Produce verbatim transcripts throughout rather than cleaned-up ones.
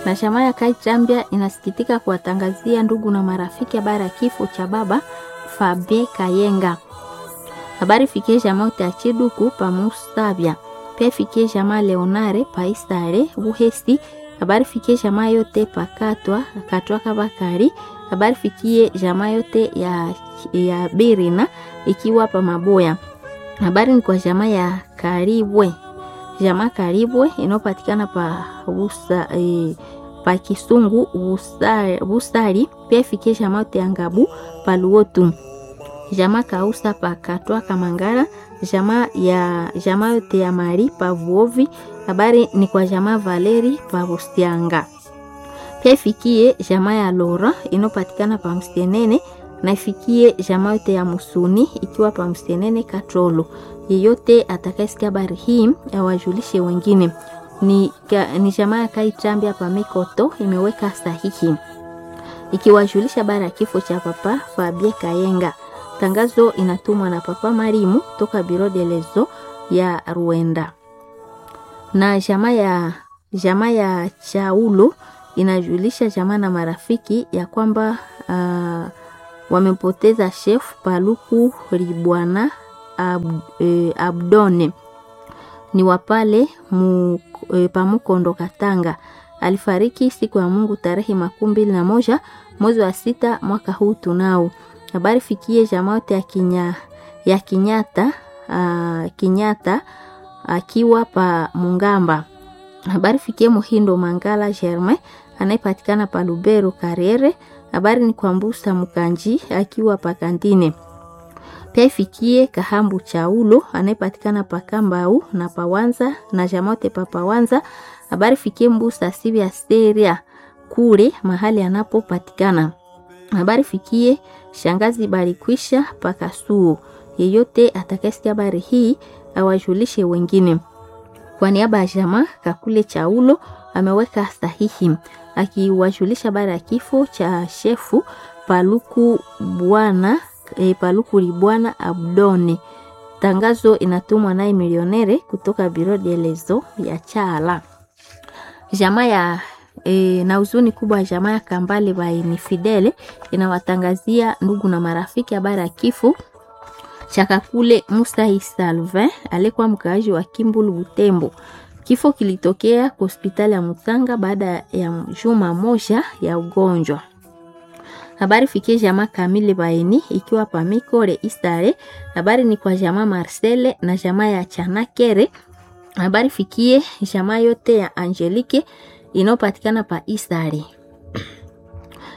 Na chama ya Kaichambia inasikitika kuwatangazia ndugu na marafiki habari ya kifo cha baba Fabie Kayenga. Habari fikie jamaa yote ya Chiduku pa Musabya. Pia fikie jamaa Leonare pa Isare Buhesi. Habari fikie jamaa yote pa Katwa Katwa Kabakari. Habari fikie jamaa yote ya, ya Birina ikiwa pa Maboya. Habari ni kwa jamaa ya Karibwe, jamaa Karibwe inayopatikana pa Busa, eh, pa Kisungu Busari, Busari. Pia ifikie jamaa yote ya Ngabu pa Luotu, jamaa Kausa pa Katwa Kamangara, jamaa ya jamaa yote ya Mari pa Vuovi. Habari ni kwa jamaa Valeri pa Bustianga. Pia ifikie jamaa ya Lora inayopatikana pa Mstenene na ifikie jamaa yote ya Musuni ikiwa pa Mstenene Katrolo. Yeyote atakayesikia habari hii awajulishe wengine. Ni, ka, ni jamaa ya Kaichambia pa Mikoto imeweka sahihi ikiwajulisha habari ya kifo cha papa Fabie Kayenga. Tangazo inatumwa na papa Marimu toka Biro de Lezo ya Ruenda. Na jamaa ya jamaa ya Chaulo inajulisha jamaa na marafiki ya kwamba uh, wamempoteza chef Paluku Ribwana Ab, e, Abdone ni wapale mu, e, Pamukondo Katanga. Alifariki siku ya Mungu tarehe makumi mbili na moja mwezi wa sita mwaka huu tunao. Habari fikie jamaa yote ya Kinya, ya Kinyata, a, Kinyata akiwa pa Mungamba. Habari fikie Muhindo Mangala Germain anayepatikana pa Lubero Karere. Habari ni kwa Mbusa Mukanji akiwa pa Kandine. Pia ifikie Kahambu Chaulo anayepatikana pa Kambau na Pawanza na jamote pa Pawanza. Habari fikie Mbusa Sibia Seria kule mahali anapopatikana. Habari fikie shangazi Barikwisha Pakasuo. Yeyote atakayesikia habari hii awajulishe wengine. Kwa niaba ya jamaa Kakule Chaulo ameweka sahihi akiwajulisha habari ya kifo cha shefu Paluku bwana e, Paluku Libwana Abdone. Tangazo inatumwa naye milionere kutoka Biro de Lezo ya Chala. Jamaa ya e, na huzuni kubwa jamaa ya Kambale Baini Fidele inawatangazia ndugu na marafiki habari ya kifo cha Kakule Musa Salvin aliyekuwa mkaaji wa Kimbulu Butembo. Kifo kilitokea kwa hospitali ya Mutanga baada ya juma moja ya ugonjwa. Habari fikie jamaa Kamile Baini ikiwa pa Mikore Istare. Habari ni kwa jamaa Marcele na jamaa ya Chanakere. Habari fikie jamaa yote ya Angelique inayopatikana pa Istare.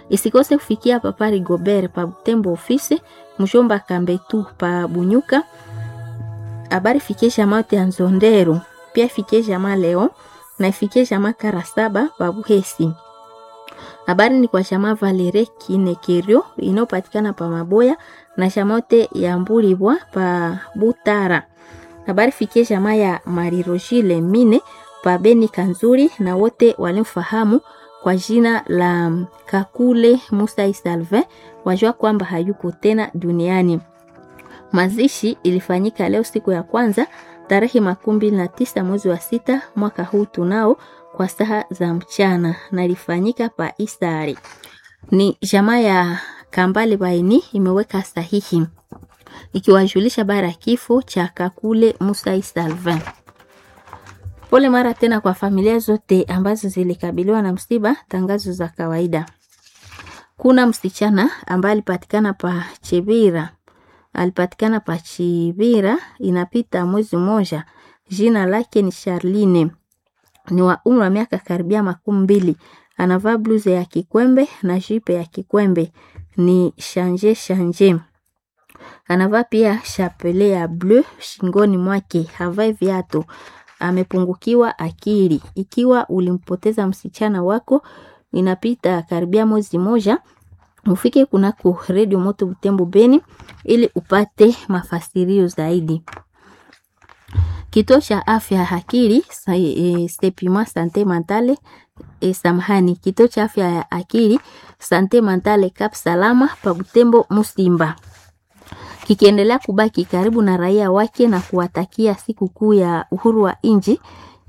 Isikose kufikia papa Rigobert pa Butembo ofisi, mshomba Kambetu pa Bunyuka. Habari fikie jamaa yote ya Nzondero, pia ifikie jamaa Leo na ifikie jamaa Karasaba pa Buhesi. Habari ni kwa jamaa Valere Kinekerio inayopatikana pa Maboya na jamaa yote ya Mbulibwa pa Butara. Habari fikie jamaa ya Marirojile Mine pa Beni Kanzuri na wote walimfahamu kwa jina la Kakule Musa Salvin wajua kwamba hayuko tena duniani. Mazishi ilifanyika leo siku ya kwanza tarehe makumi mbili na tisa mwezi wa sita mwaka huu tunao kwa saa za mchana na ilifanyika pa Isari. Ni jamaa ya Kambale Baini imeweka sahihi ikiwajulisha bara kifo cha Kakule Musa Salvin. Pole mara tena kwa familia zote ambazo zilikabiliwa na msiba. Tangazo za kawaida. Kuna msichana ambaye alipatikana pa Chibira, alipatikana pa Chibira inapita mwezi mmoja. Jina lake ni Charline, ni wa umri wa miaka karibia makumi mbili. Anavaa bluze ya kikwembe na jipe ya kikwembe, ni shanje shanje. Anavaa pia chapele ya bleu shingoni mwake, havai viatu. Amepungukiwa akili. Ikiwa ulimpoteza msichana wako inapita karibia mwezi moja, ufike kunako Redio Moto Butembo Beni ili upate mafasirio zaidi. Kituo cha afya ya akili Sepima Sante Mentale e, samahani, kituo cha afya ya akili Sante Mentale Cap Salama pa Butembo Musimba kikiendelea kubaki karibu na raia wake na kuwatakia sikukuu ya uhuru wa nchi.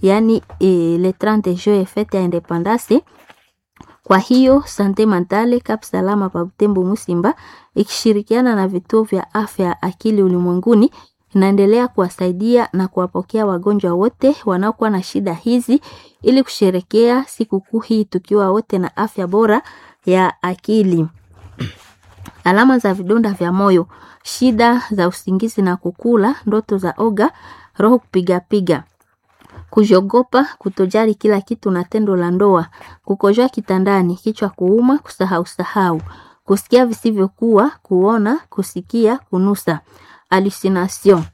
yaani e, le trente juin fête ya indépendance. Kwa hiyo Sante Mentale Cap Salama pa Butembo Musimba ikishirikiana na vituo vya afya ya akili ulimwenguni inaendelea kuwasaidia na kuwapokea wagonjwa wote wanaokuwa na shida hizi ili kusherekea sikukuu hii tukiwa wote na afya bora ya akili. Alama za vidonda vya moyo, shida za usingizi na kukula, ndoto za oga, roho kupigapiga, kujogopa, kutojali kila kitu na tendo la ndoa, kukojoa kitandani, kichwa kuuma, kusahau sahau, kusikia visivyokuwa, kuona, kusikia, kunusa, hallucination,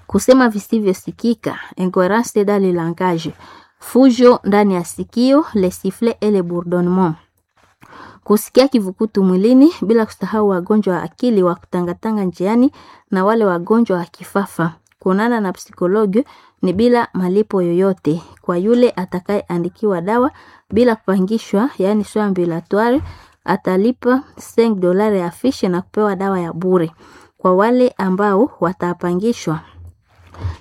kusema visivyosikika, incoherence dans le langage, fujo ndani ya sikio, les sifflets et les bourdonnements, kusikia kivukutu mwilini, bila kusahau wagonjwa wa akili wa kutangatanga njiani na wale wagonjwa wa kifafa. Kuonana na psikologi ni bila malipo yoyote kwa yule atakayeandikiwa dawa bila kupangishwa, yaani soins ambulatoires, atalipa cinq dolari ya fiche na kupewa dawa ya bure. Kwa wale ambao watapangishwa,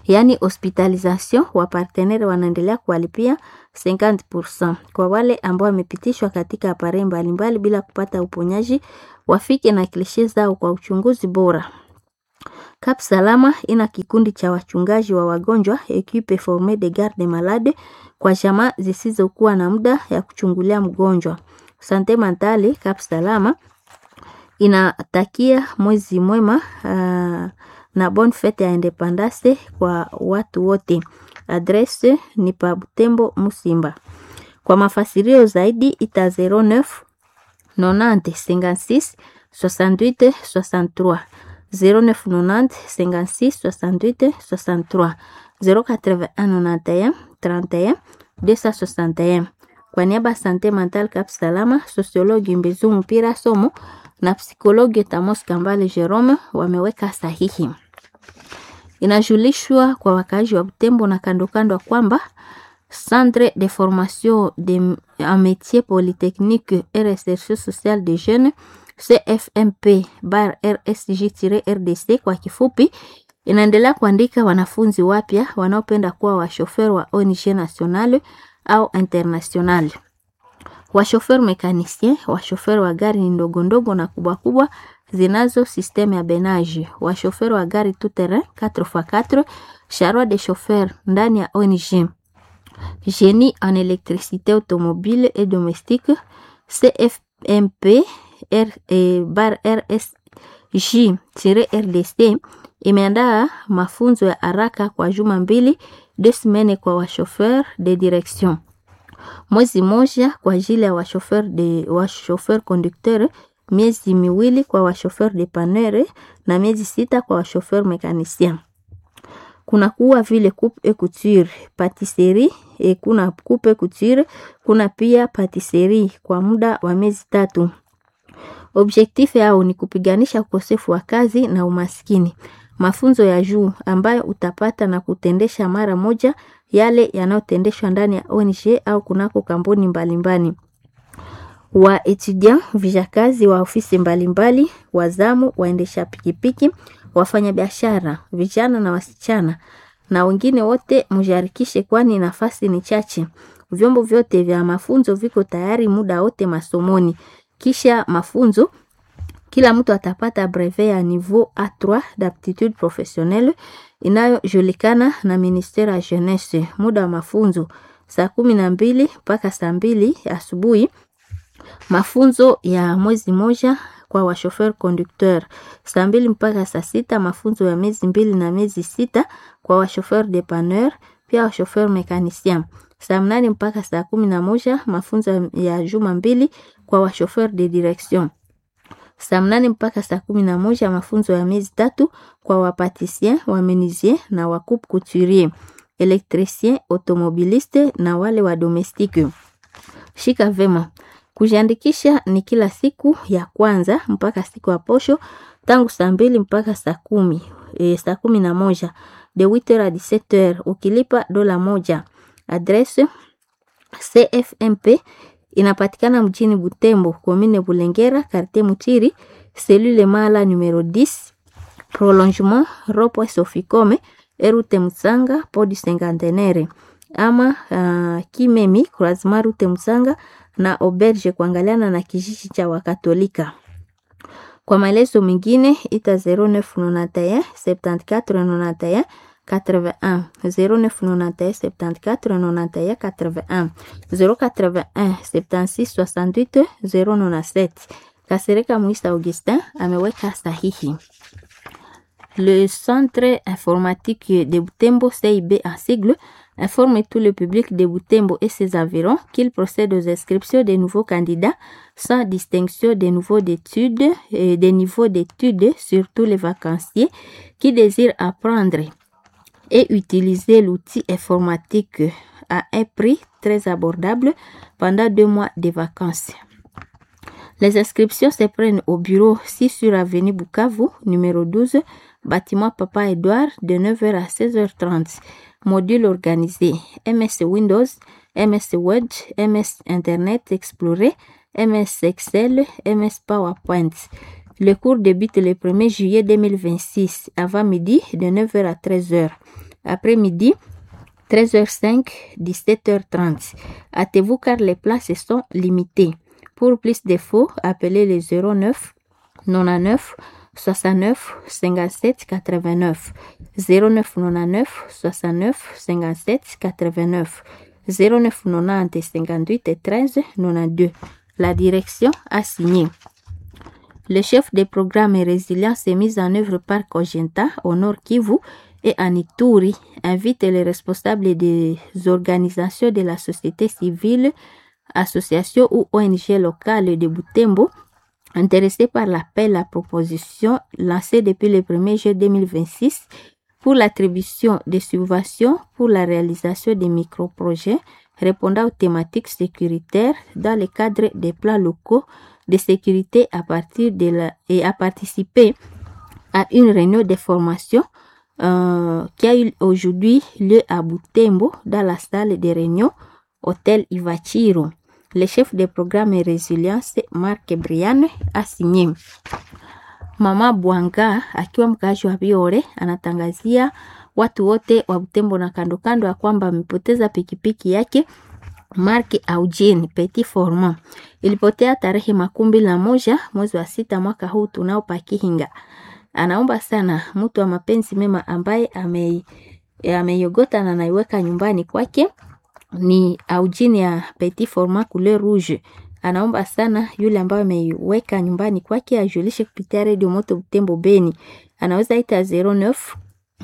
yaani hospitalisation, wa partenaire wanaendelea kuwalipia cinquante pour cent. Kwa wale ambao wamepitishwa katika appareil mbalimbali bila kupata uponyaji, wafike na klishe zao kwa uchunguzi bora. Cap Salama ina kikundi cha wachungaji wa wagonjwa equipe formee de garde malade kwa jamaa zisizokuwa na muda ya kuchungulia mgonjwa. Sante Mentale Cap Salama inatakia mwezi mwema uh, na bonne fete ya independance kwa watu wote. Adresse ni pa Butembo Musimba. Kwa mafasirio zaidi ita zéro neuf nonante cinquante-six soixante-huit soixante-trois zéro neuf nonante cinquante-six soixante-huit soixante-trois zéro quatre-vingt-un nonante et un trente et un deux cent soixante et un. Kwa niaba ya Sante Mentale Cap Salama, sociologue Mbezu Mpira Somo na psikologi Tamos Kambale Jerome wameweka sahihi. Inajulishwa kwa wakaaji wa Butembo na kando kando kwamba Centre de formation de en métier polytechnique et recherche sociale des jeunes C F M P bar R S J-R D C kwa kifupi, inaendelea kuandika wanafunzi wapya wanaopenda kuwa washofer wa O N G nationale au internationale, washofer mécanicien, washofer wa gari ndogo ndogo na kubwa kubwa zinazo système ya benage, washofer wa gari tout terrain quatre par quatre, charroi de chauffeur ndani ya O N G, génie en électricité automobile et domestique. C F M P R, eh, bar R S J-R D C imeandaa mafunzo ya haraka kwa juma mbili, deux semaines kwa washofer de direction, mwezi moja kwa ajili ya washofer de washofer conducteur, miezi miwili kwa washofer dépanneur na miezi sita kwa washofer mécanicien. Kuna kuwa vile coupe et couture, pâtisserie e, kuna coupe et couture, kuna pia pâtisserie kwa muda wa miezi tatu. Objectif yao ni kupiganisha ukosefu wa kazi na umaskini. Mafunzo ya juu ambayo utapata na kutendesha mara moja yale yanayotendeshwa ndani ya O N G au kunako kampuni mbalimbali. Wa étudiant, vijakazi wa ofisi mbalimbali, wazamu, waendesha pikipiki, wafanyabiashara, vijana na wasichana na wengine wote mujiharikishe, kwani nafasi ni chache. Vyombo vyote vya mafunzo viko tayari muda wote masomoni. Kisha mafunzo kila mtu atapata brevet ya niveau A trois d'aptitude professionnelle inayojulikana na ministère ya jeunesse. Muda wa mafunzo saa kumi na mbili mpaka saa mbili asubuhi. Mafunzo ya mwezi moja kwa washofer conducteur saa mbili mpaka saa sita. Mafunzo ya miezi mbili na miezi sita kwa washofer dépanneur pia washofer mécanicien saa mnane mpaka saa kumi na moja. Mafunzo ya juma mbili kwa washofer de direction saa mnane mpaka saa kumi na moja. Mafunzo ya miezi tatu kwa wapâtissier, wa menuisier na wa coupe couturier, électricien automobiliste na wale wa domestique. Shika vema. Kujiandikisha ni kila siku ya kwanza mpaka siku ya posho tangu saa mbili mpaka saa kumi e, saa kumi na moja, de huit heures à dix-sept heures, ukilipa dola moja. Adresse C F M P inapatikana mjini Butembo, commune Bulengera, quartier Mutiri, cellule Mala numéro dix, prolongement rond-point Soficome, route Mutsanga, port du Cinquantenaire. ama uh, Kimemi Croisement Rute Musanga na Auberge kuangaliana na kijiji cha Wakatolika. Kwa maelezo mengine ita zéro neuf nonante et un septante-quatre nonante et un quatre-vingt-un, zéro neuf nonante et un septante-quatre nonante et un quatre-vingt-un, zéro quatre-vingt-un septante-six soixante-huit zéro nonante-sept. Kasereka Muisa Augustin ameweka sahihi. Le Centre informatique de Butembo, C I B en sigle, informe tout le public de Butembo et ses environs qu'il procède aux inscriptions des nouveaux candidats sans distinction des niveaux d'études et des niveaux d'études, surtout les vacanciers qui désirent apprendre et utiliser l'outil informatique à un prix très abordable pendant deux mois de vacances. Les inscriptions se prennent au bureau six sur avenue Bukavu, numéro douze, bâtiment Papa Edouard, de neuf heures à seize heures trente. Module organisé: M S Windows, M S Word, M S Internet Explorer, M S Excel, M S PowerPoint. Le cours débute le premier juillet deux mille vingt-six, avant midi, de neuf heures à treize heures. Après-midi, treize heures cinq, dix-sept heures trente. Hâtez-vous car les places sont limitées. Pour plus d'infos, appelez le zéro neuf quatre-vingt-neuf soixante-neuf cinquante-sept quatre-vingt-neuf, zéro neuf quatre-vingt-neuf soixante-neuf cinquante-sept quatre-vingt-neuf, zéro neuf quatre-vingt-dix cinquante-huit treize quatre-vingt-deux. La direction a signé. Le chef des programmes Résilience est mis en œuvre par Cogenta au Nord Kivu et en Ituri invite les responsables des organisations de la société civile, associations ou O N G locales de Butembo intéressés par l'appel à proposition lancé depuis le premier juillet deux mille vingt-six pour l'attribution des subventions pour la réalisation des micro-projets répondant aux thématiques sécuritaires dans le cadre des plans locaux de sécurité à partir de la, et à participer à une réunion de formation euh, qui a eu aujourd'hui lieu à Butembo dans la salle de réunion Hôtel Ivachiro. Le chef de programme Résilience, Marc Brian, a signé. Mama Bwanga akiwa mkaaji wa Biore anatangazia watu wote wa Butembo na kando kando ya kwamba amepoteza pikipiki yake Mark Augene Petit Format. Ilipotea tarehe makumi mbili na moja mwezi wa sita mwaka huu tunao pakihinga. Anaomba sana mtu wa mapenzi mema ambaye ame ameiogota na anaiweka nyumbani kwake ni Augene ya Petit Format couleur rouge. Anaomba sana yule ambaye ameiweka nyumbani kwake ajulishe kupitia Radio Moto Butembo Beni. Anaweza ita zéro neuf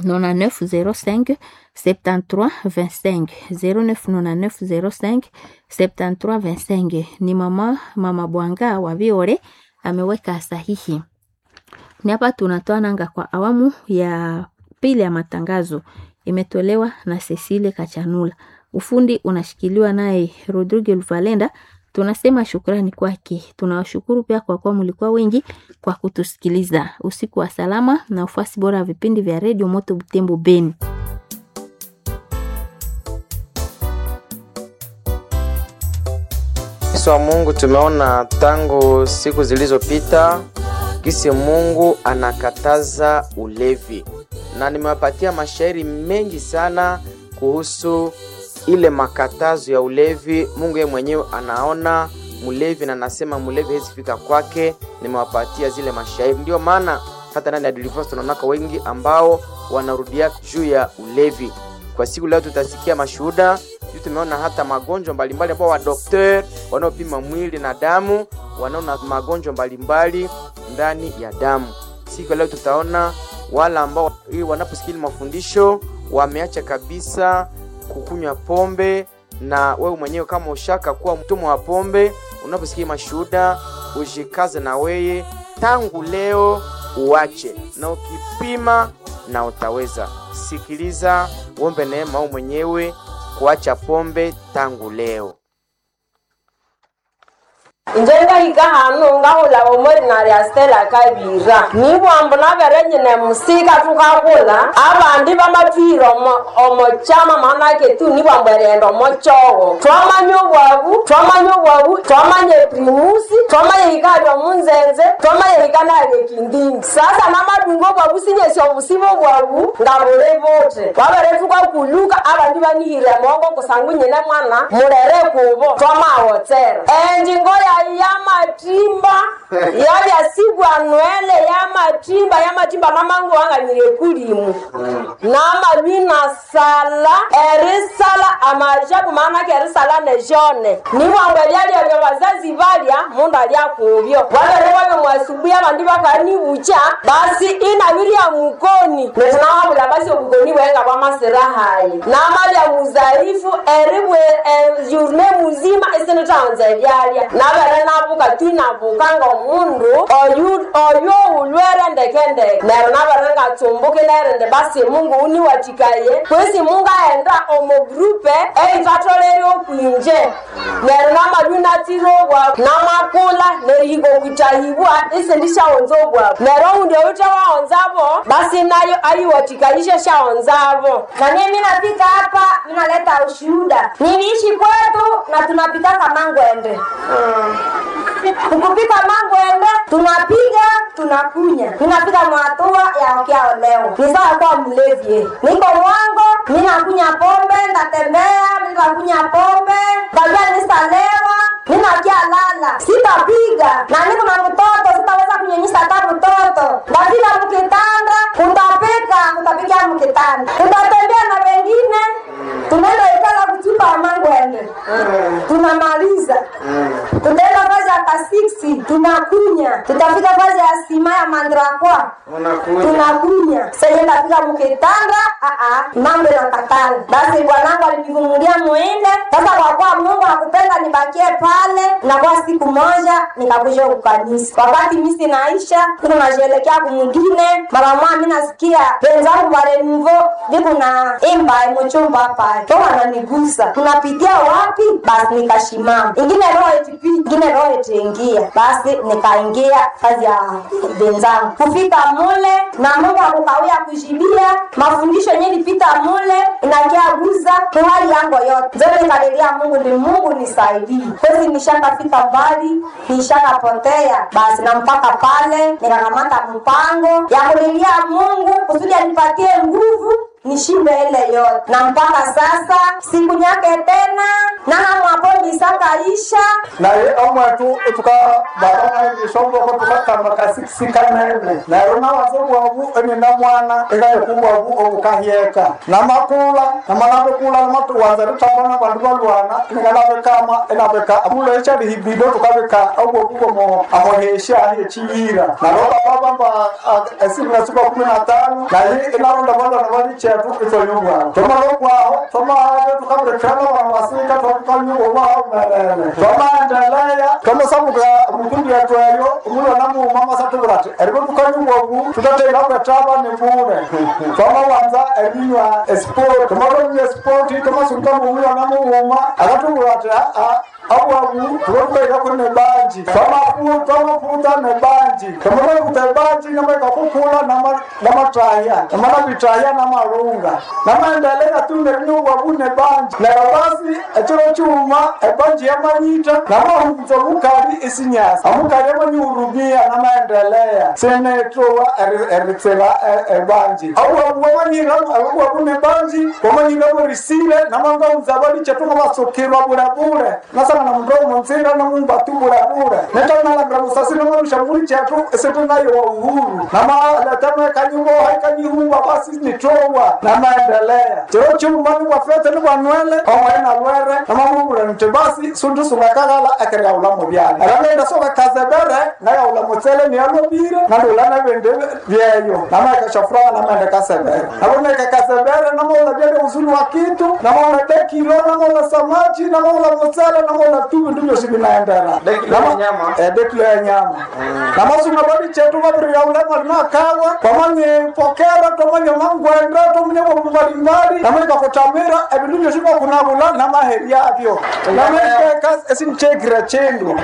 nonante-neuf zéro cinq septante-trois vingt-cinq, zéro neuf nonante-neuf zéro cinq septante-trois vingt-cinq. Ni mama, mama Bwanga wa Biore ameweka sahihi. Ni hapa tunatoa nanga kwa awamu ya pili ya matangazo. Imetolewa na Cecile Kachanula. Ufundi unashikiliwa naye Rodrigo Luvalenda. Tunasema shukrani kwake. Tunawashukuru pia kwa kuwa mlikuwa wengi kwa kutusikiliza. Usiku wa salama na ufuasi bora wa vipindi vya Radio Moto Butembo Beni. Yesu wa Mungu, tumeona tangu siku zilizopita kisi Mungu anakataza ulevi, na nimewapatia mashairi mengi sana kuhusu ile makatazo ya ulevi. Mungu yeye mwenyewe anaona mlevi na anasema mlevi hawezi fika kwake. Nimewapatia zile mashairi, ndio maana hata ndani ya Deliverance tunaonaka wengi ambao wanarudia juu ya ulevi. Kwa siku leo tutasikia mashuhuda juu tumeona hata magonjwa mbalimbali ambao wa daktari wanaopima mwili na damu wanaona magonjwa mbalimbali ndani ya damu. Siku leo tutaona wale ambao wanaposikia mafundisho wameacha kabisa kukunywa pombe, na wewe mwenyewe kama ushaka kuwa mtumwa wa pombe, unaposikia mashuhuda ujikaze na weye tangu leo uache, na ukipima na utaweza. Sikiliza, uombe neema wewe mwenyewe kuacha pombe tangu leo. Inje ngahika hanu ngahula omori narya Stella Kabira. Nibwambu nabere nyine musika tukakula abandi bamatwihira omo omo chama manake tu nibwambu erighenda omo chogo. Twamanya obwabu, twamanya obwabu, twamanya eprimusi, twamanya hika lya omunzenze, twamanya hika nalya ekindindi. Sasa namadunga obwabu sinyesi obusibo obwabu nga buli buthi. Babere tukakuluka abandi banihire mongo kusangu nyine mwana mulere kubo twamawotsera. Enjingo yayi yamatimba yabyasigwa nwele yamatimba yamatimba mamangu wanganyire kulimu namalwina sala erisala amajabu maanake erisala nejone nibwambu ebyalya bya bazazi balya mundu alya kubyo wabere babye mwasubuhi abandi bakanibucha basi inabirya mukoni netinawabula basi obukoni bwenga bwamasira hayi namalya muzaifu eribwe e, journe muzima isinithaghunza ebyalya nabere nabuka twinabuka ng'omundu oyu oyu ulwere ndekendeke neryo nabere ngatsumbuka nerindi basi Mungu uniwathikaye kwesi Mungu aghenda omo grupe eyithatholere okwinje neryo namalwi natsire obwabu namakula nerihika okwithahibwa isindisyaghunza obwabu neryo owundi oyuthe waghunzabo basi nayo ayiwathikayisye syaghunzabo. Na mimi nafika hapa ninaleta ushuhuda. Niliishi kwetu na tunapikaka mangwende. Ukupika mangwende tunapiga tunakunya. Ninafika mwatua ya okiaolewa. Ni sawa kuwa mlevi. eh. Niko mwango, ninakunya pombe, ndatembea, ninakunya pombe, kabla nisalewa, ninakia lala, sitapiga. Na niko na mtoto, sitaweza kunyonyesha hata mtoto. Ndafika mkitanda, kutapika, kutapiga mkitanda. Tutatembea na wengine, tunaenda ikala kuchimba mangwende. Tunamaliza. Tutaenda fazi ya kasiksi, tunakunya. Tutafika fazi ya sima ya mandrakwa. Tunakunya. Sasa ndafika mkitanda, a a, mambo yanakatala. Basi bwanangu alinivumilia muende. Sasa kwa kuwa Mungu hakupenda nibakie pale, na kwa siku moja nikakuja kukanisa. Wakati misi naisha, niko najielekea kumwingine, mara moja mimi nasikia wenzangu wale nivo niko na imba mchumba hapa. Kwa wananigusa. Tunapitia wapi? Basi nikashimama. Ingine roho itipi, ingine roho itiingia. Basi nikaingia kazi ya wenzangu. Kufika mule na Mungu akukawia kujibia mafundisho yenyewe nilipita mule inakia guza kwa hali yangu yote. Zote nikalilia Mungu ni Mungu nisaidie. Kwezi nishakafika mbali, nishakapotea. Basi na mpaka pale nikakamata mpango ya kulilia Mungu kusudi anipatie nguvu nishinde ile yote, na mpaka sasa siku nyake tena na hamwapo nisakaisha naye omwetu tuka baba ishomboko tukakamba kasikisi kanene neryo nawanza obwabu enina mwana ekaeka obwabu obukahyeka namakula namalabikula namatuwanza erithamba nabandu balwana ingalabikama inabika amulo ekyalihibido tukabika obwabu bwomo amohesya ekyiyira neryo baba bamba esiri na siku kumi na tano naye inaronda balwana balikyetu itwanywa obwabu twamala okwaho twamabe tukabirikana abantu basika twakukanywa obwaho merere twamaendelea twamasamuka mukundi yetu eyo omulwana muuma masatubwira ati eribo tukanywa obwabu tutatera kwetaba nibure twamawanza erinywa esport twamalonywa esport twamasunga mumulwana muuma akatubwira ati aa abwabu tubakubairako nebanji twamaputa nebanji twamalakuta ebanji namaikakukula namataya namalabitaya namalunga namaendelea tunerinywa obwabu nebanji neryo basi ekiro kyuma ebanji yamanyita namahunza omukali isinyasi omukali amanyihurumia namaendelea sinetowa eritsira ebanji obwabu bwamanyira obwabu nebanji bwamanyiramo risire namangahunza balikyetu ngabasukirwa bulebule nasanga na mundu omunzira nomumba tu bulebule netanalabira musasi nomarusha muli kyetu esitunayowa uhuru namaletamo ekanyuboha ekanyihumba basi nitowa namaendelea kiro kyuma nibwafete nibwanwele omwaye nalwere namamubula nti basi sundu sungakaghala ekeryaghula mubyala erangaenda sokakazebere ngayaghula mutsele niyalobire nandula nebindi byeyo namaekashafuraha namaenda kasebere naboneka kasebere namaula byale uzuri wa kitu namaula dekilo namaula samachi namaula mutsele namaula tu bindu byosi binaendera Dekilo ya nyama. Eh, dekilo ya nyama namasunga bali chetu babiryaula mali nakawa twamanye pokera twamanye mangwenda twamanye bwabu mbalimbali namanyika kutamira ebindu byosi bakunabula namaheri abyo namaikeka esinchekira chino. chindu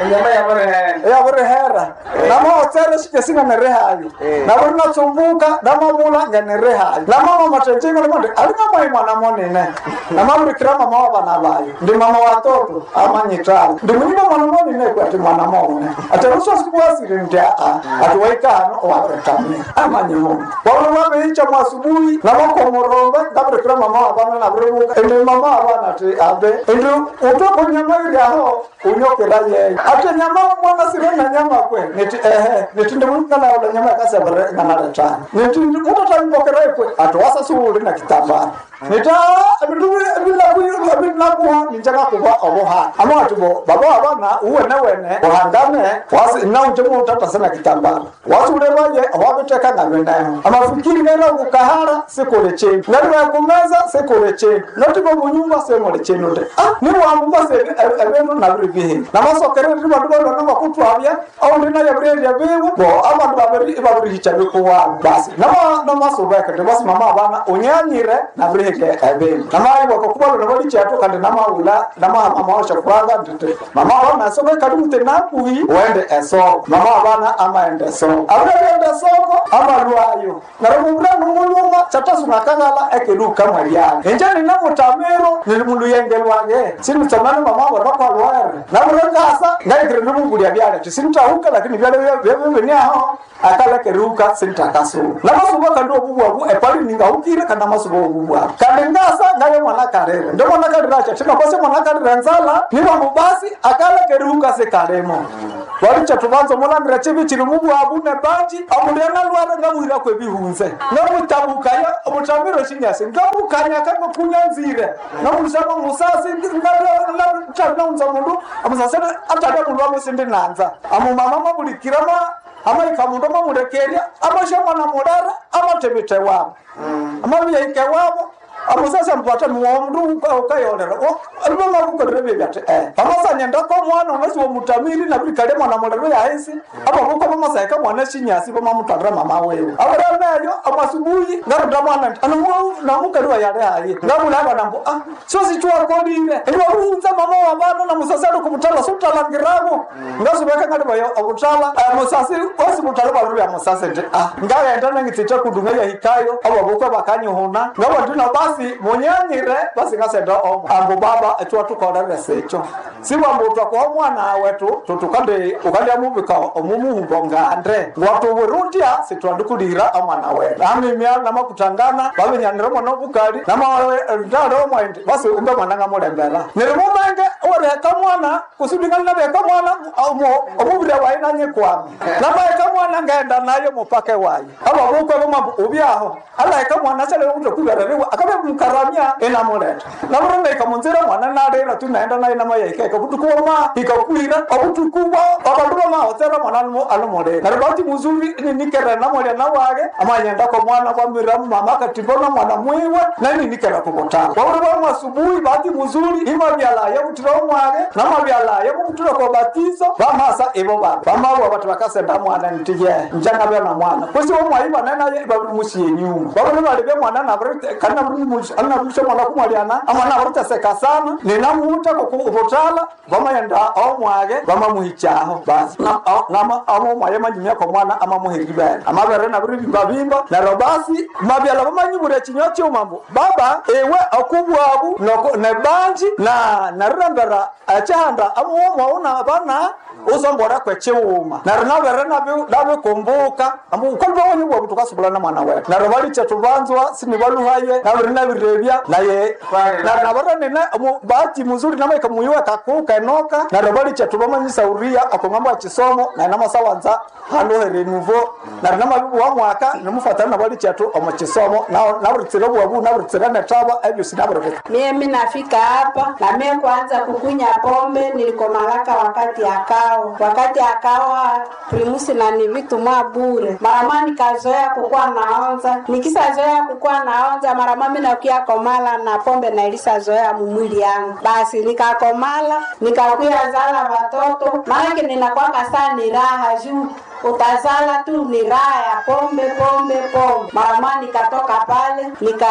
yabirihera namahotsere shikesinga nirihayi nabiri natsumbuka namabula ngenirihayi namama mathenjinga limandi alinga mwana monene namabirikira mama wa bana bayo ndi mama watoto amanyitala ndi munyumba mwana monene kwati mwana mone ati rusosikuwasiri ndi aa ati waikano owabiritamira amanyimundu wabiri wabiicha mwasubuhi namakomorombe ngabirikira mama wa bana nabiribuka indi mama wa bana ati abe indi utoko nyama iri aho unyokera yeyo ati nyama mwana sire na nyama kwe niti ehe niti ndi mukana nyama yakasebere nganaletana niti mutatampokera ikwe ati wasasuuli na kitambara nita ebindu binakuha ninjakakuba obuhana ama ati bo baba abana uwene wene uhangane wasi naunje mutatase na kitambara wasulebaye owabiteka ngabineho amafikiri ngera kukahara sikuli chindu ngaliba kumeza sikuli chindu notibo munyumba simuli chindu nde ah niwambumba se ebindu nabiri bihi namasokere ndi bandu balwana bakutwabya aundi naye birerya biwe bo abandu babiri babirihicha bikuwabo basi nama namasubeke ndi basi mama abana unyanyire nabirihike ebindu namaibwako kubalona balichatu kandi namaula namamamaosha kuranga nditi mama abana esoko kali mute nakuhi wende esoko mama abana amaende esoko abirende esoko amalwayo naromubura numuluma chatasunakangala ekeluka mwaliana inje ninamutamiro nili muluyenge lwange sinitsamani mama abo bakwalwere nabirengasa ngaikire nimungulya byale tisinitahuka lakini byale byebibiniaho akalekeruka sintakasuba namasuba kandi obubwabu epali ningahukire kandi amasuba obubwabu kandi ngasa ngaye mwana kalere ndo mwana kalere acha tinakose mwana kalere nzala nibambu basi akalekeruka sikalemo walicha tubanza mulangira chibi chili mubwabu nebanji omundu yanalwara ngamuhirako ebihunze ngamutabukaya omutamiro shinyasi ngamukanya kangakunyanzire ngamulusama musasi ngaunza mundu amusasi atata mundu amusindi nanza amumama mabulikirama amaika mundu mamulekerya amasha mwana mulera amatebete wabo amabiyaike wabo amusasa mpata mundu ukayolera alivamakukolera byebyati eh pamasanyendako mwana unasi womutamiri nabirikale mwana mulero yahisi abavuka pamasaika mwana shinyasi pamamutwalira mama wewe aburameyo amasubuhi ngaruta mwana nti namukaliwa yale hayi ngabula abana mbu ah sosichwakolile ndiwaruunza mama wa bana na musasi ali kumutala sotalangirako ngasubeka ngalibayo obutala musasi osi butala bwabiri musasi nti ah ngaghenda nangitsitha kudunga yahikayo abavuka bakanyuhuna ngabandina basi munyanyire basi ngasenda omo ambu baba etwatukolere sicho siwambu twakuha omwana wetu tutukandi ukandiamubika omumuhumbo ngande ngwatuwirundya sitwandikulira omwana wetu amimya namakutangana baminyanire omwana obukali namandale omwendi basi umbe mwana ngamulembera nirimumenge oriheka mwana kusudingana nabiheka mwana omubiri wayi nanyikwami namaheka mwana ngaenda nayo mupake wayi ababukwe bamambu ubyaho alaheka mwana shalele kutokubereriwa akabe mukaramya inamuleta namurumaika munzira mwana nalira tu naenda naye namayaikaika butuku bwama ikakwira obutuku bwa abandu bamahotsera mwana alumulira neryo bati muzuri ninikere namulya nawage amanyendako mwana kwamira mama akatimbona mwana mwiwe naninikera kubutala waburi bamwasubuhi bati muzuri imabyalaya butira omwage namabyalaya bubutira kwa batizo bamasa ibo babe bamabwa bati bakasenda mwana ntiye njangabya na mwana kwesi omwayi banenaye ibabiri musiye nyuma baburi balibya mwana nabiri kana anabulisha mwana kumwaliana amwana abariteseka sana ninamuta kubutala vamayenda omwage vamamuhichaho basi omwaye manyumyako mwana amamuhiribere amabere nabiribimba neryo basi mabyala vamanyibura echinywa chiuma mbu baba iwe okubwabu nebanji na narirembera echihanda amuwomwawu nabana usombora kwechiwuma neryo nabere nabikumbuka ukalibawonyibwabu tukasubulana mwana wetu neryo baliche tubanzwa sinibaluhaye nabiri nabirebya naye nabaranene bahati muzuri namaika muyiwe kakuka enoka neryo baliche tubamanyisauria okong'ambo ya chisomo naye namasawanza haluhere nuvo neryo namabibu wa mwaka nimufatana nabalichetu omu chisomo naburitsire obwabu naburitsire netaba ebyosi nabiribika Mie minafika hapa na mie kwanza kukunya pombe nilikomalaka wakati akao wakati akawa primusi na ni vitu mwa bure marama nikazoea kukuwa naonza nikisazoea kukuwa naonza marama minakuya komala na pombe na ilisazoea mumwili yangu basi nikakomala nikakuya zala watoto maanake ninakwaka saa ni raha juu utazala tu ni raha ya pombe pombe pombe. Mara nikatoka pale nika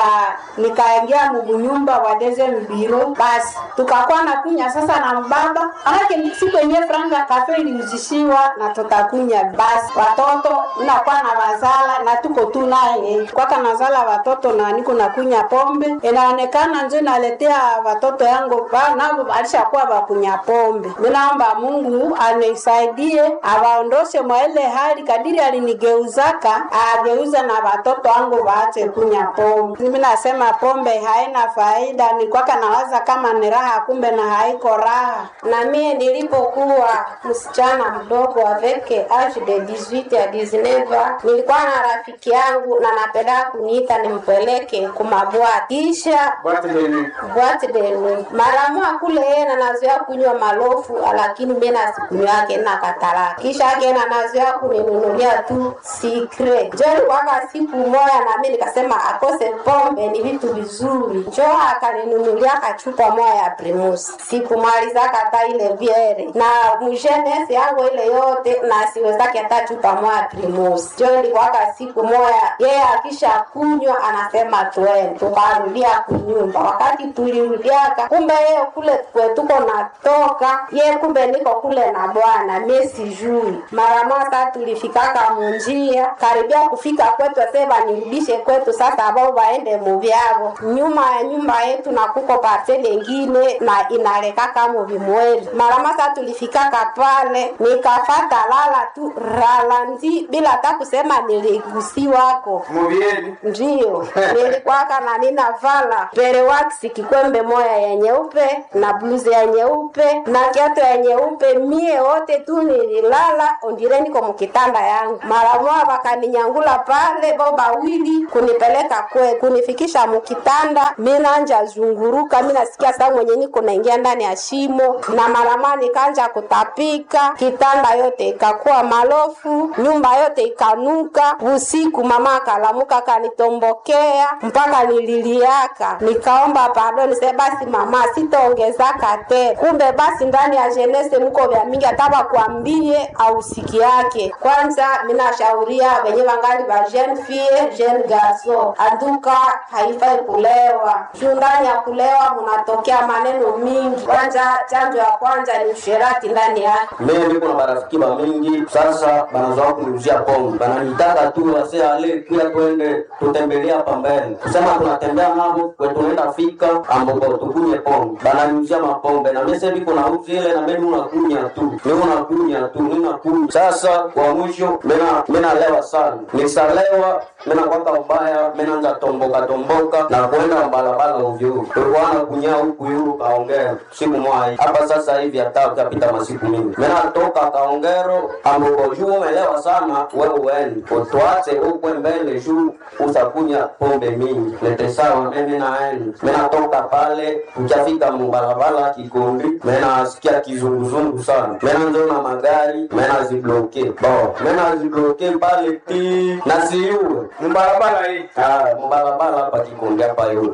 nikaingia mubunyumba wa deuxième bureau, basi tukakuwa na kunya sasa na mbaba, manake siku yenyewe franga kafe iliuzishiwa na tutakunya. Basi watoto nakuwa na wazala na tuko tu naye kwaka nazala watoto na niko nakunya pombe, inaonekana njo naletea watoto yangu nabo alishakuwa wakunya pombe. Minaomba Mungu anisaidie awaondoshe mwa ile hali, kadiri alinigeuzaka ageuza na watoto wangu waache kunya pombe. Mimi nasema pombe haina faida, ni kwaka nawaza kama ni raha, kumbe na haiko raha. Na mie nilipokuwa msichana mdogo aveke age de dix-huit ya dix-neuf, nilikuwa na rafiki yangu na napenda kuniita nimpeleke kumabwati, kisha bwati de nuit mara moja kule yeye na nazoea kunywa malofu, lakini mimi na sikunywake na katala, kisha yake na nazoea kuninunulia tu sikre. Njo ilikuwaka siku moya na mimi nikasema akose pombe ni vitu vizuri, njo akaninunulia kachupa moya ya Primus, sikumalizaka hata ile biere na mjenesi yangu ile yote, na siwezake hata chupa moya ya Primus. Njo ilikuwaka siku moya yeye akisha kunywa anasema twende, tukarudia kunyumba. Wakati tulirudiaka, kumbe yeye kule kwetuko natoka ye, kumbe niko kule na bwana mie sijui. Mara moja sasa tulifikaka munjia karibia kufika kwetu, ase banirudishe kwetu sasa, ambao waende muvyavo nyuma ya nyumba yetu na kuko parcele ingine na inalekaka muvimweri. Mara moja sasa tulifikaka pale, nikafata lala tu ralanzi bila hata kusema niligusiwako Muvyeni. Ndiyo, nilikwaka na ninavala perewaksi kikwembe moya ya nyeupe na bluzi ya nyeupe na kiatu ya nyeupe. Mie wote tu nililala ondire niko mukitanda yangu. Mara moja wakaninyangula pale bo bawili kunipeleka kwe kunifikisha mukitanda, minanja zunguruka, minasikia saa mwenye niko naingia ndani ya shimo, na mara moja nikanja kutapika, kitanda yote ikakuwa malofu, nyumba yote ikanuka. Usiku mama akalamuka akanitombokea mpaka nililiaka, nikaomba pardon, nise basi mama sitaongezaka tena. Kumbe basi ndani ya jenese mko vya mingi, hata bakwambie ausiki yake. Kwanza minashauria wenye wangali ba jeune fille jeune garçon, anduka haifai kulewa juu ndani ya kulewa munatokea maneno mingi. Kwanza chanjo ya kwanza ni usherati ndani yake. Mimi niko na marafiki ba mingi sasa, banazoa kuniuzia pombe, bananitaka tu wase ale kuya twende tutembelea hapa mbele, kusema tunatembea nabo kwe tunaenda fika amboko tukunye pombe, bananiuzia mapombe na mimi sasa niko na uzi ile na mimi unakunya tu, mimi unakunya tu, mimi nakunya. Sasa kwa mwisho mimi mimi nalewa sana, nisalewa mimi nakwaka mbaya, mimi naanza tomboka tomboka na kwenda mbalabala ovyo ovyo, tulikuwa nakunya huku yulu kaongea siku moja hapa sasa hivi hata utapita masiku mingi, mimi natoka kaongero amboko juu umelewa sana wewe uende utwache ukwe mbele juu utakunya pombe mingi lete sawa. Mimi naenda mimi natoka pale, ukafika mubalabala Kikombi, mimi nasikia kizunguzungu sana, mimi naona magari mimi nazibloke bo, mimi nazibloke pale ti na siyue Mbarabara hii. Ah, mubalabala hapa Kikombi hapa yule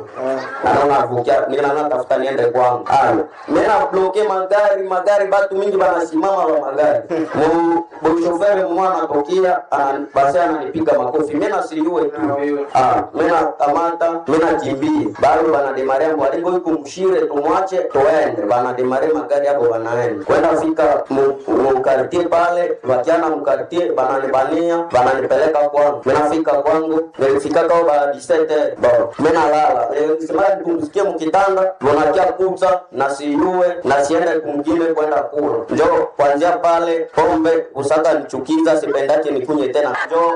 naona vukia nina tafuta niende kwangu. Ah, mimi na bloke magari magari, batu mingi banasimama ba magari mu boshofere mwana anatokea ana basi ananipiga makofi, mimi nasiliwe tu. Ah, mimi nakamata mimi nakimbia, bado banademaria mwalingo yuko mshire, tumwache tuende, banademare magari hapo, banaenda kwenda fika mu mu quartier pale, wakiana mu quartier bananibania, bananipeleka kwangu. Mimi nafika kwangu, nilifika kwa ba dix-sept bo, mimi nalala sema nipumzikie mkitanda, bonakia kuza na siyue na siende kumgine kwenda kula, njo kuanzia pale pombe kusaka nichukiza, sipendake nikunye tena, njo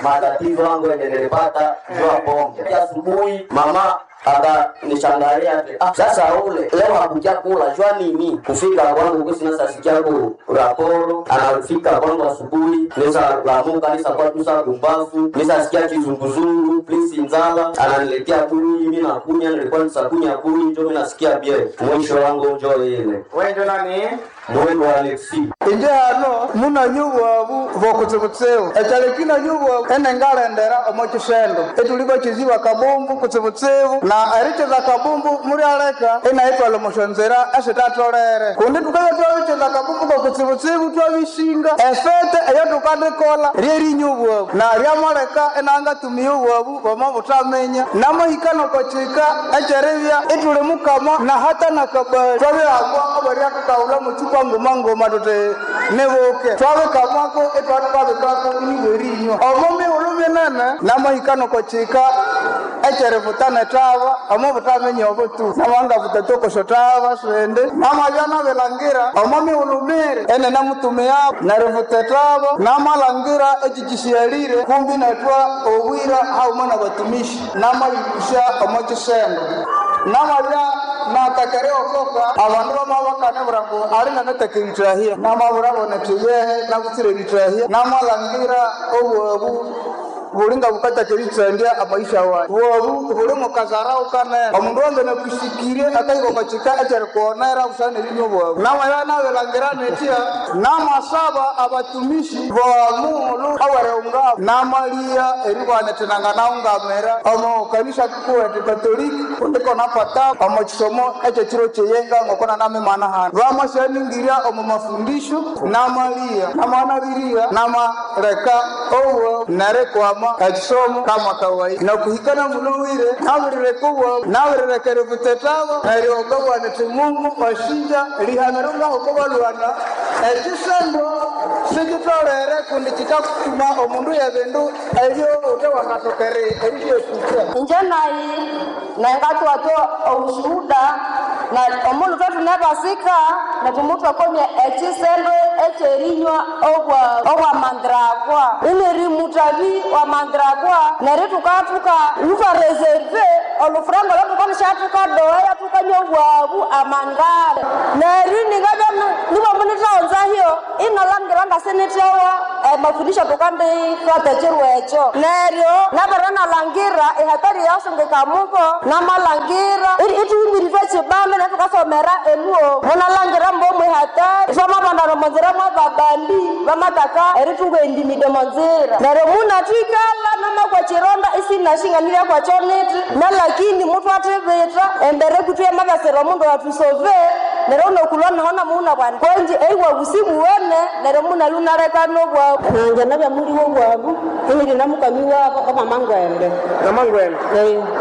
matatizo yangu yenye nilipata juu ya pombe. Asubuhi mama akanishangalia ah, sasa ule leo hakuja kula jua nini? Kufika kwangu kusi nasa sikia ku raporo anafika kwangu asubuhi, nisa lamuka nisa kwa tusa kumbafu nisa sikia kizunguzungu plisi nzala ananiletea kuni, mimi nakunya, nilikuwa nisakunya kuni njo mimi nasikia bie mwisho wangu njo ile Wewe ndio nani? mwendo wa Alexi Inje hano munanyu bwabu bokutsibutsibu ekyaleki nanyu bwabu enengalendera omo kisendo etuli bakiziba kabumbu kutsibutsibu na erikiza kabumbu mulyaleka inaitwala omusyonzira esitatolere kundi tukabya twabikiza kabumbu kokutsibu Kutsibutsibu twabishinga efete eyo tukandikola ryerinywa obwabu na ryamaleka enangatumiya obwabu bamabuthamenya namahika nokokika ekyeribya ituli mukama na hata nakabali twabihambwa abaryatukaghulha mucupa nguma nguma tuti nibuke twabikamako itwatukabikako inibwerinywa omo mihulhu minene namahika nokokika ekyerivutana ethaba omo butaminya obutu namangavuta tokosho thaba sindi namabya nabilangira omo mihulhu miri enene mutumiabo nerivuta ethaba namalangira ekikishyalire kumbi netwa obwira hauma nabatumishi namayibusya omo kisendo namabya natakere okoka abandu bamabakane ngu ali nanatakeritrahia namabura netiyehe nabutsire eritrahia namalangira obwabu bulinga bukatakeritrandya amaisha wayi bwabu buli mukazarau kanene omundu wange nakusikirie akahika ekyerikuonera busana erinywa bwabu namabya nabilangira netya namasaba abatumishi bomuulu awereungabo namaliya eribwanethinanga naungamira omo kanisa kikuwete katoliki kundiko napata omo kisomo ekyekiro kyeyenga ngokona namimana hanu bamasyaningirya omo mafundisho namaliya namanabiriya namaleka obwo nerikwama ekisomo kama kawaida nakuhikana munuwire naburireka obwabu naburireka eributetabo neryo ngabwanete Mungu washinja lihamiro ngaho kobalwana ekisendo sikitolere kundi kikakutuma omundu yebindu ebyo ute wangatokere eribyekuka Inje nayi nengatwatwa obushuhuda na omundu twetunebasika netumutwakomya ekisendo ekyerinywa obwa obwa mandrakwa ineri mutabi wa mandrakwa neri tukatuka lutwareserve olufuranga lwatukanishatukadoya tukanywa obwabu amangale neri ningabya nibomunithaonzahyo inalangira ngasinithawa emafundisho tukandifata ekiro ekyo neryo nabere nalangira ehatari yasungikamuko namalangira ituhimiritwe ekibanda netukasomera eluo munalangira mbomu ehatari twamabandana omonzira mwababandi bamataka eritunga endimide monzira neryo munatwikala namakwa chironda isinashinganirya kwakyo niti nalakini mutwathibitha embere kuthu yamabasira omundu wathusove neryo unokulwa naho namuuna bwana konji eiwa busibuwene neryo munalunalekana obwabu nanje nabya muliwo bwabu inili namukami wabo obamangwende namangwende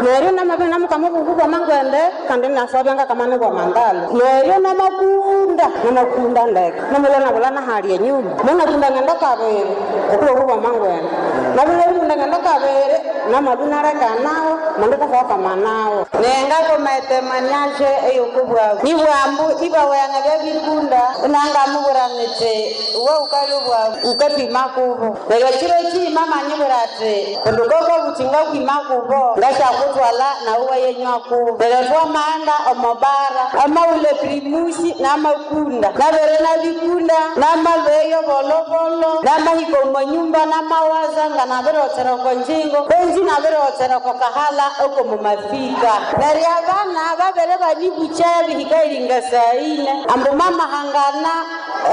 neryo namabya namukama obubu bwamangwende kandi nasobya ngakamana bwamandala neryo namakunda namakunda ndeke namulwa nabula nahali enyuma munakunda ngenda kabiri okulobu bwamangwende nabulakunda ngenda kabiri namalu naleka nawo mandikafokamanawo nengakomaetemaniaje eyokubwabu nibwambu ibaweyanga byabikunda unangamubura niti uwe ukali bwabu ukapima kubo neryo kiro kiima manyibura ati kundu koko buti ngakwima kubo ngasyakutwala nawe wayenywa kubo neryo twamaghenda omobara amaule primusi namakunda nabere nabikunda namalweyo bolobolo namahika omonyumba namawaza nga nabirotsera oko njingo konji nabirotsera oko kahala oko mumafika neryo abana babere banibukya bihika iringa saine ambu mamahangana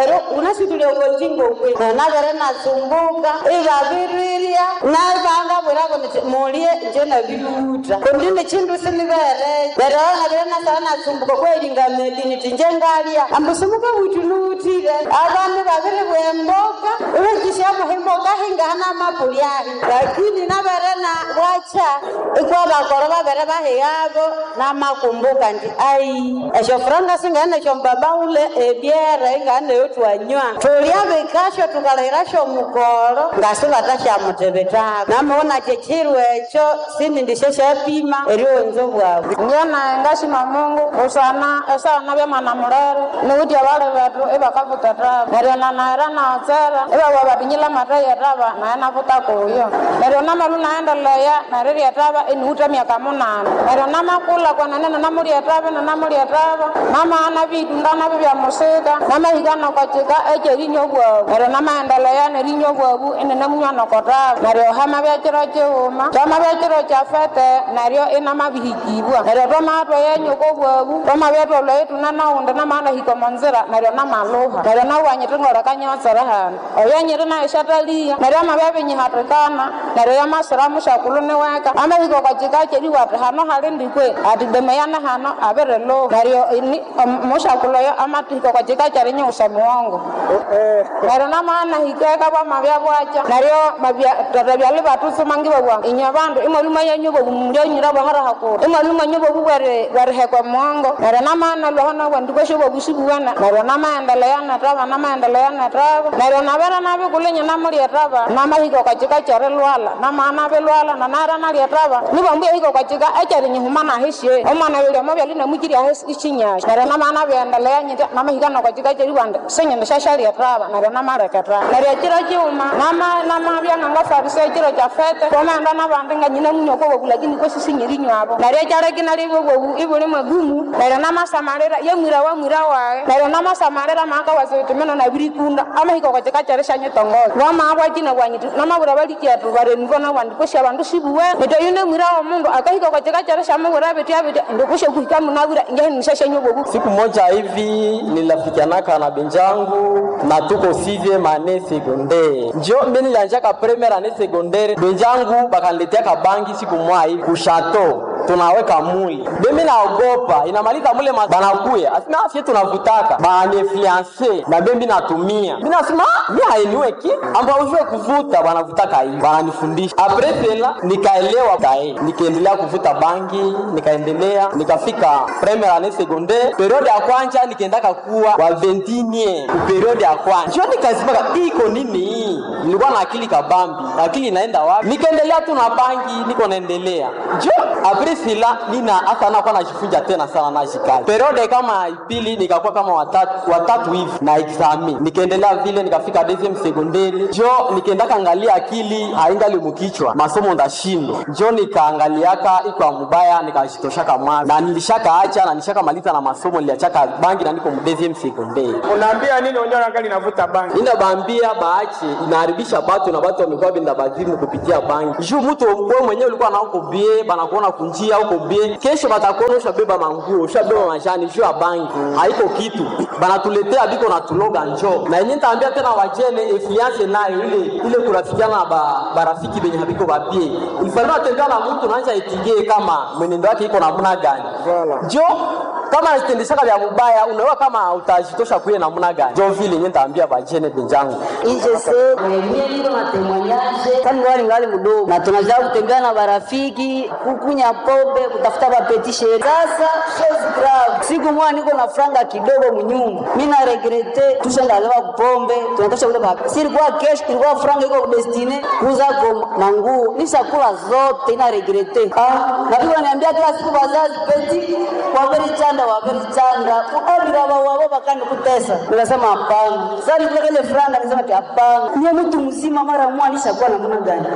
ero unasitulia oko njingo kwe nabere nasumbuka ibabirirya nabangabwirako niti mulye nje nabiluta kundi nichindu sinibere neryo nabere nasala nasumbuka kweiringa medi niti nje ngalya ambu simuka wutuluutire abandu babiri bwemboka ubekishamuha emboka hingahana amapuli ahi lakini nabere na bwacha ikwa bakoro babere bahiyabo namakumbuka nti ai esyo franga singane esyo mbaba ule ebyere ingane yotwanywa tulya bikasho tukalahirasho mukoro ngasibatashamutebetako namawona kyekyiru ekyo sinindisyo syapima erionzo bwabu Njena ngashima Mungu usana esana bya mwana mulere niwuthi abali bethu ibakavuta thaba neryo nanaira naotsera ibabwa batinyila mathayi ethaba naye navuta kuyo neryo namalu naendeleya nerirya ethaba iniwutha emyaka munana neryo namakula kwenene nanamulya ethaba nanamulya ethaba namaghana bitunda nabyo byamusika namahika nokokyika ekyerinywa obwabu neryo namaendeleya nerinywa obwabu ininamunywa nokothaba neryo hamabya kiro kighuma kyamabya kiro kyafete neryo inamabihikibwa neryo twamabya tweyenyuka obwabu twamabya twalwaye tunanawundi namaghana hika omonzira neryo namaluha neryo nawanyiti ngoleka nyotsere hano oyo nyiri nayo Shataliya neryo amabya binyihatikana neryo yamasira mushakulu niweka amahika okachika kyeriwa ati hano hali ndikwe ati demeyane hano abiriluha neryo mushakulu oyo amatihika okachika kyerinyiwusa muwongo neryo namana hikeka bwamabya bwacha neryo tata byali batutsuma ngibabwa inywe bandu imwaluma yanyu bobu mulyanyira bwahara hakuru imwaluma nyu bobu bwerihekwa muwongo neryo namana lwaho nabwa ndikwesyo bobu sibuwana neryo namaendelea netaba namaendelea netaba neryo nabera nabikulinya namulyetaba namahika okachika kyerilwala namana bilwala nanara nalyetaba nibambuya hika okachika ekyerinyihuma nahisye omwana yulya byali namukiri ahe ichinyasha neryo namana byendelea nyitya namahika nokachika kyeriwanda sinyindi syasyalyetaba neryo namaleketaba neryo ekiro kiuma namabya ngangafarisa ekiro kya fete kwamaghenda nabandi nganyina munywa kwobobu lakini kwesisinyerinywabo neryo ekyaleki nalibya obobu ibuli mwegumu neryo namasamalira yamwira wamwira wayi neryo namasamalira maakawasa mino nabirikunda amahika okachika kyerisyanyitongoza wamaabwakina bwanyiti namabura balikyethu barenivo nabandi kwesya abandu sibuwe nitoyu nemwira womundu akahika okachika kyerisyamuwira bitya bitya ndikusya kuhika munabwira ingehinisyasyanywa obobu. Siku moja hivi nilifikianaka na benjangu na tuko sixième année secondaire, njo mimi nilianjaka première année secondaire, benjangu bakaniletea kabangi siku moja hivi kushato tunaweka mule bemi naogopa inamaliza mule banakuya asema afye tunavutaka bananiinfluence na bembi natumia mi nasema mi hainiweki amba ujue kuvuta banavutaka hivi bananifundisha apres cela nikaelewa kae nikaendelea kuvuta bangi nikaendelea nikafika première année secondaire periode ya kwanja nikaendaka kuwa wa vingtinie ku periode ya kwanja njo nikazimaka iko nini hii nilikuwa na akili kabambi akili inaenda wapi nikaendelea tu na bangi niko naendelea njo apres cela nina hata nakuwa najifunja tena sana najikazi periode kama ipili nikakuwa kama watatu, watatu hivi na examen nikaendelea vile nikafika deuxième secondaire njo nikaendaka angalia akili haingali mukichwa masomo ndashindwa njo nikaangaliaka iko ya mubaya nikajitoshaka mwana na nilishaka acha na nilishaka maliza na masomo niliachaka bangi na niko mu deuxième secondaire. Unaambia nini wenyewe wangali navuta bangi? Inabaambia baache, inaharibisha batu na batu wamekuwa binda bazimu kupitia bangi. Juu mtu wewe mwenyewe ulikuwa na uko bie, banakuona kunjia uko bie, kesho batakuona ushabeba manguo, ushabeba majani juu ya bangi. Haiko kitu. Banatuletea biko na tuloga njo. Na yenyewe nitaambia tena wajene influence nayo ile ile kurafikiana na ba, barafiki benye habiko bapie. Ilifanya atembea na mtu naanza itingie kama mwenendo wake iko namna gani. Njo kama anatendeshaka vya mubaya unaona kama utajitosha kuye namna gani. Njo vile yenyewe nitaambia bajene benjangu. Ijese mie niko na témoignage kani ngali ngali mdogo na tunajaa kutembea na barafiki kukunya pombe kutafuta bapetishe. Sasa chose grave, siku moja niko na franga kidogo mnyumba, mimi na regrete tushandalewa kupombe tunatosha kule ba silikuwa cash, ilikuwa franga iko destine kuuza kwa manguo nishakula zote, ina regrete ah, na pia wananiambia kila siku bazazi peti waberi chanda waberi chanda abira wao bakani kutesa. Nikasema hapana. Sasa nilikuwa ile franga nikasema ati hapana, niye mtu mzima mara mwa nishakuwa namna gani?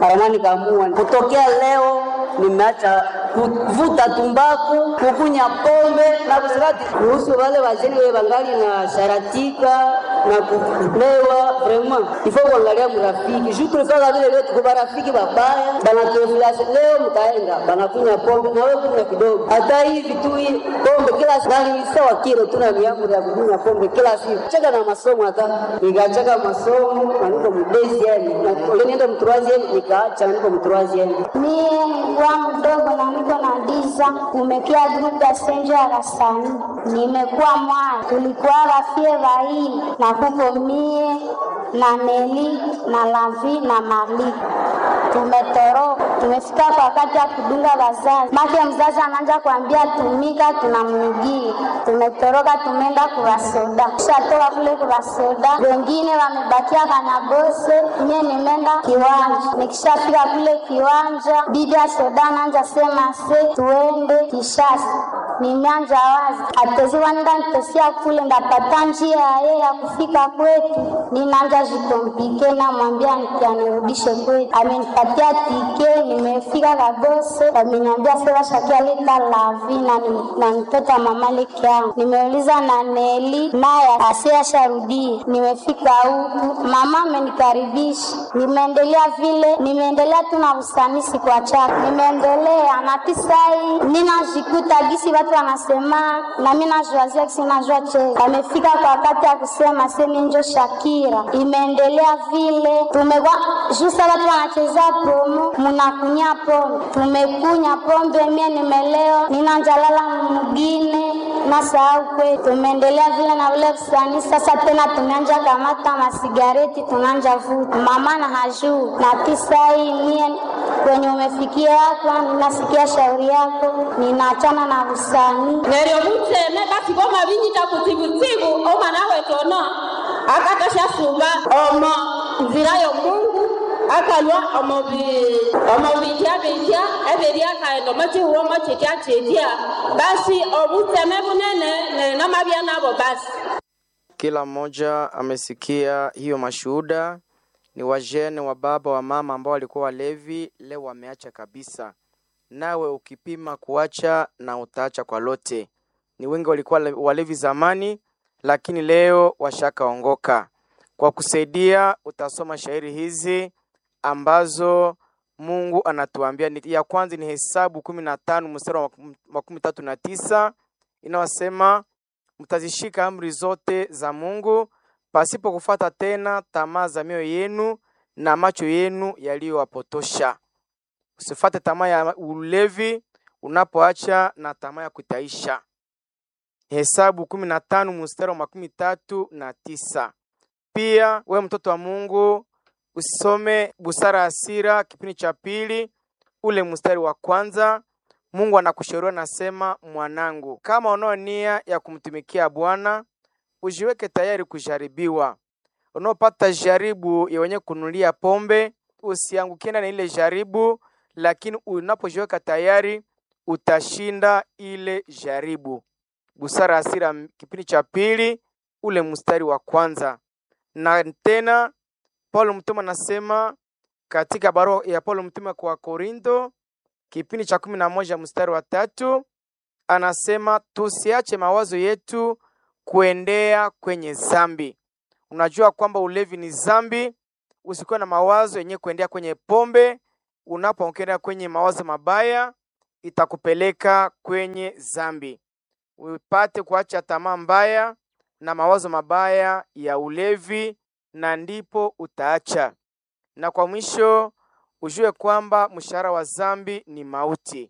Mara mwa nikaamua kutokea leo nimeacha kuvuta tumbaku, kukunya pombe na kusirati. Kuhusu wale wazeni we bangali na sharatika na kulewa, vraiment il faut kuangalia mrafiki juu tulifanya vile leo, tuko barafiki babaya banatuinfluence. Leo mtaenda banakunya pombe na wewe kunywa kidogo, hata hivi tu hii pombe kila siku nani sawa kilo tuna miamuri ya kunywa pombe kila siku. Cheka na masomo, hata nikacheka masomo na niko mdesieni na nienda mtroisieme nikaacha niko mtroisieme. Mie nilikuwa mdogo na niko na diza, kumekia grupu ya senjo ya rasani, nimekuwa mwana, tulikuwa rafie vaili na kuko mie na Neli na Lavi na Mali tumetoroka, tumefika kwa wakati ya kudunga wazazi. Make mzazi anaanza kuambia tumika, tunamnugia. Tumetoroka, tumeenda kuwasoda, tushatoka kule kuwasoda, wengine wamebakia Kanyagose, mie nimeenda kiwanja. Nikishafika kule kiwanja, bibi ya soda anaanza sema se tuende Kishasa. Nimeanza wazi ateziwa nda nitesia kule ndapata njia ye ya kufika kwetu, ninaanza jikompike, namwambia anirudishe kwetu. Amenipatia tike, nimefika Kagose, ameniambia sasa shakia leta lavi na, na mtoto wa mama leke yangu. Nimeuliza na Neli naye asia sharudie. Nimefika huku mama amenikaribisha, nimeendelea vile, nimeendelea tu na usanisi kwa chaka, nimeendelea na tisai ninajikuta gisi watu watu wanasema na mimi najuazia kisi najua cheza. Wamefika kwa wakati ya kusema semi njo Shakira, imeendelea vile tumekuwa jusa watu wanacheza promo, munakunya pombe, tumekunya pombe, mie nimelewa, ninanjalala mugine nasahau kwetu. Tumeendelea vile na ule usanii sasa, tena tumeanja kamata masigareti tunanja vuta mama na hajuu na tisai mie kwenye umefikia hapa, ninasikia shauri yako, ninaachana na usanii. Neryo mutseme basi bomabinyita kutsibutsibu omwana wetu ono akatoshasuba omo nzira y'omungu akalwa omo bi- omo bitya bitya ebiri akaghenda omo kihuwo mo kitya kitya basi obutseme bunene neryo namabya nabo basi. Kila mmoja amesikia hiyo mashuhuda. Ni wajene wa baba wa mama ambao walikuwa walevi, leo wameacha kabisa. Nawe ukipima kuacha na utaacha kwa lote. Ni wengi walikuwa walevi zamani, lakini leo washakaongoka. Kwa kusaidia, utasoma shairi hizi ambazo Mungu anatuambia. Ni- Ya kwanza ni Hesabu kumi na tano mstari wa makumi tatu na tisa inayosema mtazishika amri zote za Mungu pasipo kufuata tena tamaa za mioyo yenu na macho yenu yaliyowapotosha. Usifate tamaa ya ulevi unapoacha na tamaa ya kutaisha. Hesabu kumi na tano mstari wa makumi tatu na tisa. Pia we mtoto wa Mungu usome Busara ya Sira kipindi cha pili ule mstari wa kwanza. Mungu anakushauria nasema, mwanangu, kama unao nia ya kumtumikia Bwana, ujiweke tayari kujaribiwa. Unaopata jaribu ya wenye kunulia pombe, usiangukie ndani ya ile jaribu, lakini unapojiweka tayari utashinda ile jaribu. Busara ya Sira kipindi cha pili ule mstari wa kwanza. Na tena Paulo mtume anasema katika barua ya Paulo mtume kwa Korinto kipindi cha kumi na moja mstari wa tatu anasema tusiache mawazo yetu kuendea kwenye zambi. Unajua kwamba ulevi ni zambi. Usikuwe na mawazo yenye kuendea kwenye pombe. Unapoendea kwenye mawazo mabaya, itakupeleka kwenye zambi. Upate kuacha tamaa mbaya na mawazo mabaya ya ulevi, na ndipo utaacha. Na kwa mwisho ujue kwamba mshahara wa zambi ni mauti.